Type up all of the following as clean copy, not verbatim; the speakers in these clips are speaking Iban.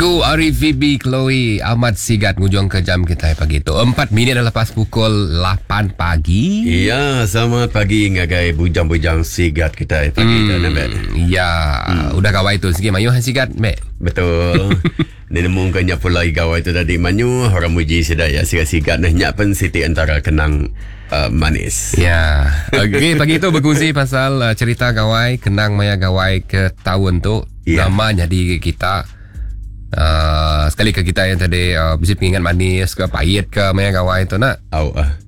Lagu ari Phoebe Chloe amat sigat ngujung ke jam kitai pagi tu. 4 minit dah lepas pukul 8 pagi. Ya, selamat pagi ngagai bujang-bujang sigat kitai pagi tu ne bet. Ya, udah gawai tu sigi mayuh sigat mek. Betul. Ni nemu ke nya pulai gawai tu tadi mayuh orang muji sida ya sigat-sigat neh nya pen siti antara kenang uh, manis. Ya. Okey, pagi tu berkongsi pasal uh, cerita gawai, kenang maya gawai ke tahun tu. Ya. Nama jadi kita uh, sekali ke kita yang tadi uh, bisi pengingat manis ke pahit ke maya gawai tu nak. Au ah.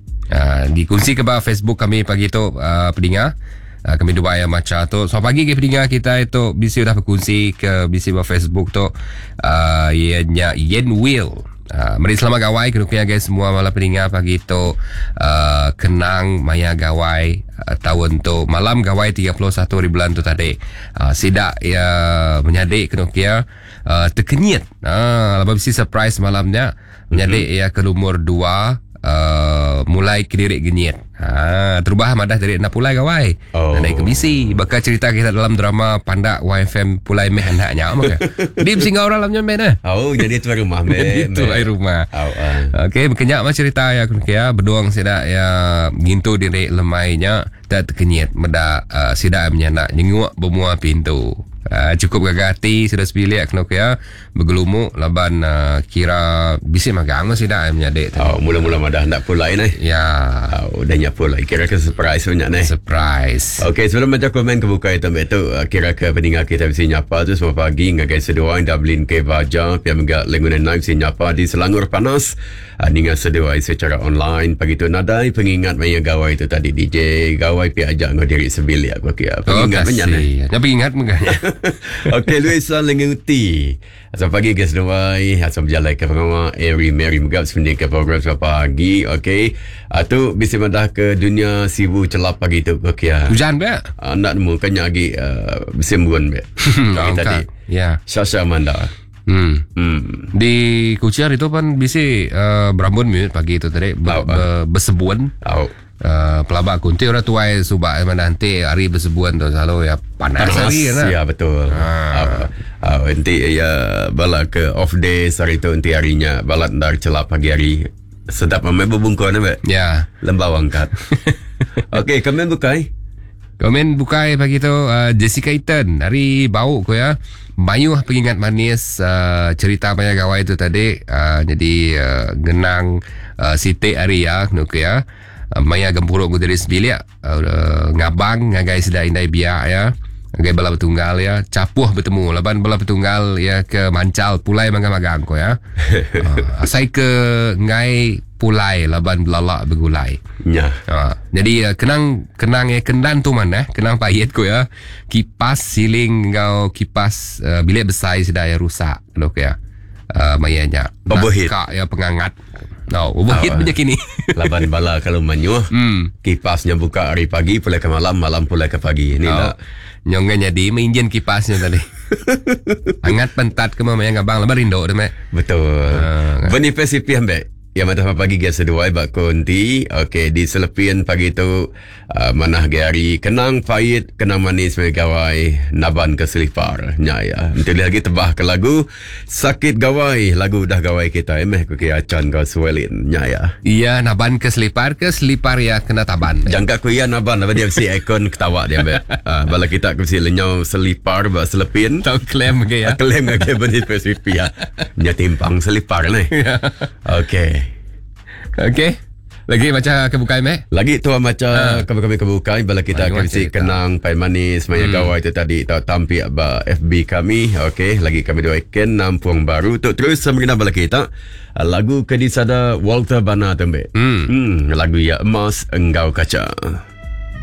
Dikongsi ke ba Facebook kami pagi tu uh, peninga. Kami dua yang maca tu. So pagi ke peninga kita itu bisi udah berkongsi ke bisi ba Facebook tu uh, ianya Yen Will. Meri selamat gawai ke nukia guys semua malam peninga pagi tu uh, kenang maya gawai uh, tahun tu malam gawai 31 hari bulan tu tadi. Sidak ya menyadik ke nukia uh, terkenyit. Lepas bisi surprise malamnya menyadik ya ke lumur 2 uh, mulai kedirik genyit. Ha, terubah madah dari nak pulai gawai. Oh. Naik ke bisi. Bakal cerita kita dalam drama pandak YFM pulai meh anaknya maka. Dia singgah orang dalamnya meh dah. Oh, jadi tu rumah meh. Jadi tu air rumah. Au ah. Okey, berkenyak mah cerita ya aku ya, berduang sidak ya ngintu diri lemainya tak terkenyit meda uh, sidak menyanak nyenguk bermua pintu. Cukup gagah hati sudah sebilik kena ya bergelumuk laban uh, kira bisi magang mah sidak menyadik tadi. Oh, mula-mula madah nak pulai ni. Ya, Oh, dah nyak pulai. Kira ke surprise banyak ni. surprise. Okey, sebelum baca komen kebuka itu ambek tu, kira ke peninggal kita mesti nyapa tu semua pagi ngagai seduai Dublin ke Baja, pia mega Lengunan Nine mesti nyapa di Selangor Panas. Ninga seduai secara online pagi tu nadai pengingat maya gawai tu tadi DJ gawai pia ajak ngau diri sebilik aku kira. Pengingat banyak ni. kasih. Yang pengingat megahnya. Okey, Luisa Lenguti. Selamat pagi ke seduai. Asal berjalan ke pengawal Airy Mary Megap sebenarnya ke program selamat pagi. Okey. Tu bisa madah ke dunia sibu celap pagi tu okey. ah. Hujan be? Nak nemu kan lagi bersembuan be. Pagi tadi. Ya. Sasha Amanda. Hmm. Hmm. Di Kuching itu pan bisi uh, berambun minit pagi itu tadi Au, bersebuan. Au. Pelabak kunti orang tuai subak mana nanti hari bersebuan tu selalu ya panas, Panas. hari kan. Ya betul. Ah. Nanti ya bala ke off day hari tu nanti harinya balat ndar celap pagi hari. Sedap mamai berbungkuan be. Ya. Lembau angkat. Okey, komen bukai. Komen bukai pagi tu Jessica Eaton hari bau ko ya. Mayuh pengingat manis cerita maya gawai tu tadi jadi genang sitik hari ya kena ke ya. Maya gempuruk ku dari sebilik ngabang ngagai sedai indai biak ya. Ngagai bala betunggal ya, capuh bertemu laban bala betunggal ya ke mancal pulai magang-magang ko ya. Asai ke ngai pulai laban belalak bergulai. Ya. Jadi kenang kenang ya kendan tu mana kenang pahit ko ya. Kipas siling ngau kipas bilik besar sudah ya rusak lo ya. Mayanya. Overheat. Kak ya pengangat. No, overheat Oh, punya kini. Laban bala kalau manyuh. Kipasnya buka hari pagi pulai ke malam, malam pulai ke pagi. Ni Oh. tak. Nyongan jadi menginjin kipasnya tadi. Hangat pentat ke mama yang abang lebar rindu tu mek. Betul. Boniface IP ambek. Ya mata pagi biasa dua bak konti. Okey di selepian pagi tu manah ge hari kenang pahit kenang manis megawai naban ke selipar. Nya ya. Nanti lagi tebah ke lagu sakit gawai lagu dah gawai kita meh ku ke acan kau suelin. Nya ya. Iya naban ke selipar ke selipar ya kena taban. Jangka ku iya naban apa dia mesti ikon ketawa dia ambek. Bala kita ku mesti lenyau selipar bak selepin. Tau klaim ke ya. Klaim ke Boniface IP ya. Nya timpang selipar ni. Okey. Okey. Lagi baca kebukai mek. Lagi tu macam kami-kami kebukai bala kita Mari akan si cerita. kenang pai manis maya gawai tu tadi tau tampik ba FB kami. Okey, lagi kami dua ikan nampung baru tu terus mengenal bala kita lagu ke disada Walter Bana tu mbek. Lagu ya emas enggau kaca.